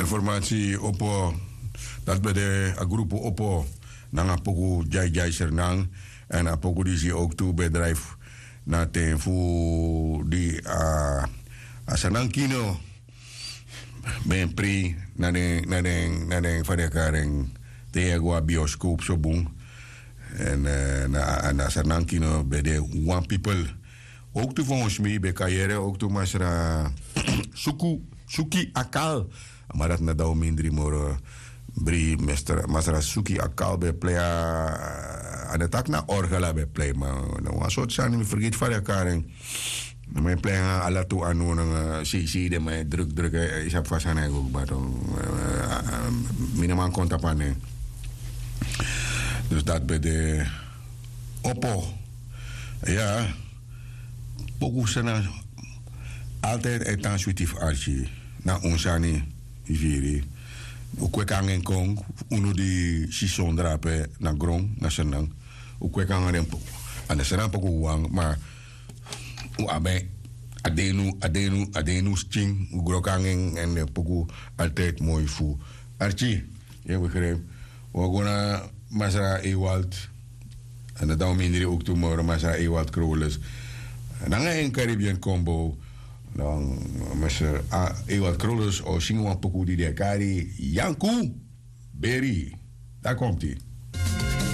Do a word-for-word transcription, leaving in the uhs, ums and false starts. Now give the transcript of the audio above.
Informasi opo, dati ben de a grupu opo nanga poku dyaidyaiseri nan. Èn a poku disi owktu ben drai fu na ten fu di a sanankino ben prei na den na den na den fa den e kari en, te yu e go a bioskop so bun. Èn na a sanankino ben de wan pipel. Owktu fu wan smi ben kan yere owktu masra suku suki akal. Ma dati na dan un mindri moro. Bri masra suki akal ben plei a na taki na orgel a ben plei ma na wan sortu sani mi fergiti fa den e kari en. Na man e plei nanga ala tu anu nanga seisei den man e druk druk e sabi fa sani a e go kba. Mi no man kon tapu a nen. Dus dati ben de opo. Ya. Poku sena. Altijd e tan switi fu arki. Na un sani. Yu firi. Un kweki nanga en kon unu di si sondra ape na gron na sernang. Un kweki nanga den poku. A na sernang poku wan ma un abi en. A denu a denu a denu skin un groki nanga en èn den poku. Altijd moi fu arki. Yu e begrijp. Un o go na masra ewald. Èn dan un mindri owktu moro masra ewald krolus nanga en caribbean combo. Dan masra ewald krolus o singi wan poku di den e kari yanku. Beri. Dati komti.